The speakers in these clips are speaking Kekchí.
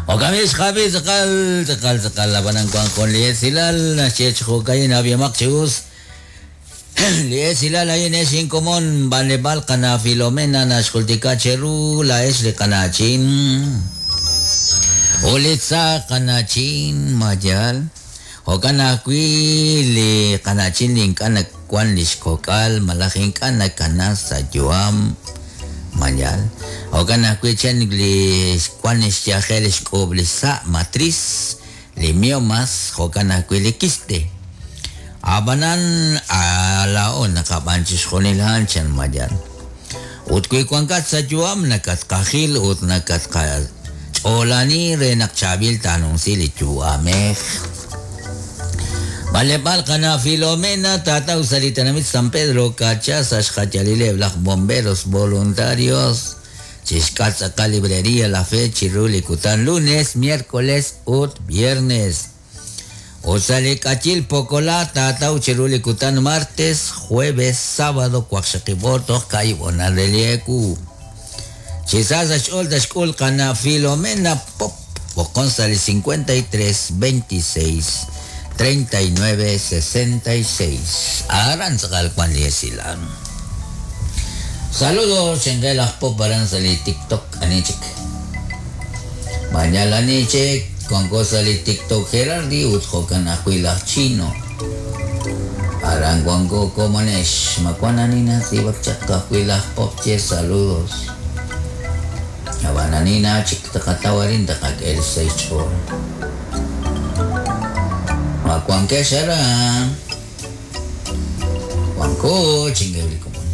Jo'kan b'i' xqab'i tz'aqal, tz'aqal, tz'aqal ab'anan wank jun li esilal naxye chi jo'ka'in ab'ihomaq chi us li esilal a'in ex inkomon b'anleb'aal qana' Filomena naxjultika cheru laa'ex li qana'chin ut li tza qana'chin ma yaal jo'kan ajwi' li qana'chin li ink'a' nawank li xkok'al malaj ink'a' nakana sa' yu'am ma yaal jo'kan ajwi' chan li wank xyajel xk'uub' li xsa' matriz li miomas jo'kan ajwi' li quiste ab'anan laa'o naqab'an chixjunil a'an chan ma yaal ut wi wankat sa' yu'am nakatqajil ut nakatqach'oolani re naq chaab'il taanumsi li yu'amej. B'anleb'aal qana' Filomena taataw sa' li tenamit San Pedro Carchá sa' xjayalileb' laj bomberos voluntarios chixk'atq tz'aqal librería La Fe chiru li kutan lunes, miércoles ut viernes. Ut sa' li k'ayil Pokola taataw chiru li kutan martes, jueves, sábado waqxaqib' oor toj kaahib' honal re li ewu. Chi sa sa' xch'ool taxk'ul qana' Filomena Pop b'oqon sa' li 53 26 39 66. Aran tz'aqal wank li esilal. Saludos xinqe laj Pop aran sa' li TikTok ani chik. Mañal ani chik wanko sa' li TikTok Gerardi ut jo'kan ajwi' laj Chino. Aran wanko komonex ma wank ani natz'iib'ak chaq ka'ajwi' laj Pop ye saludos. Ab'an ani na chik taqataw arin taqak'e li xsahil xch'ool. Ma wankex aran. Wanko chingue li komon.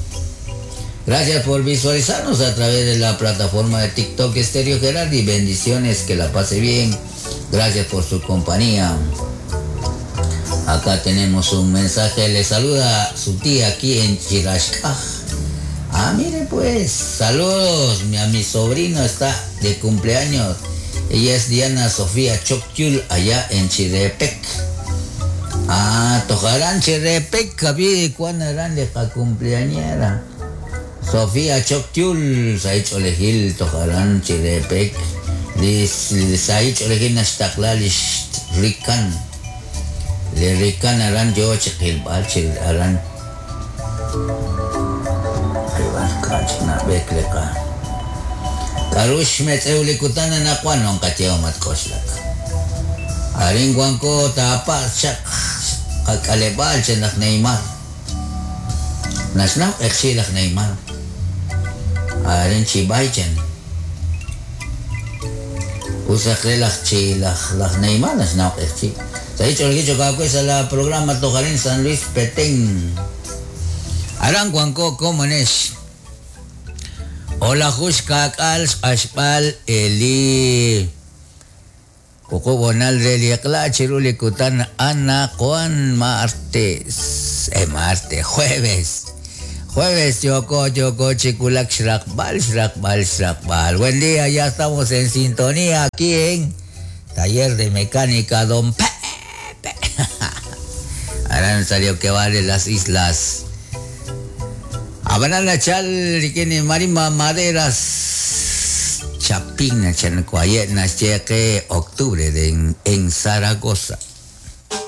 Gracias por visualizarnos a través de la plataforma de TikTok Estéreo Gerardi. Bendiciones, que la pase bien. Gracias por su compañía. Acá tenemos un mensaje. Le saluda su tía aquí en Chirashkaj. Ah, mire pues, saludos. A mi sobrino está de cumpleaños. Ella es Diana Sofía Choctyul, allá en Chirepec. Ah, tojarán Chirepec, kabi, cuán harán de cumpleañera. Sofía Choctyul, saich olejil, tojarán Chirepec. Saich olejil naxtaqla lix rikan. Le rikan aran yo chiqilb'al chil aran. K'ach nab'ek leqa. K'arux metz'ew li kutan anaqwan non qatyew matk'oxlak. Arin wanko tapa chaq qak'aleb'aal chan laj Neymar. Naxnaw q'eqchi laj Neymar. Arin chib'ay chan. Usaq re laj chi laj laj Neymar naxnaw q'eqchi. Sa ich'olgi chokakwe sa la programa Tojarín San Luis Petén. Aran wanko komonex. Hola jush kak'al xq'axb'al eli Kukubonal re liqla chiru li kutan Ana Juan martes. Martes, jueves. Jueves, yoko, yoko, chikulak, xraqbal, xraqbal, xraqbal. Buen día, ya estamos en sintonía aquí en Taller de Mecánica Don Pepe. Aran salió que vale las islas. Abanana chal, rikini marima maderas. Chapina, chan, octubre de en Zaragoza.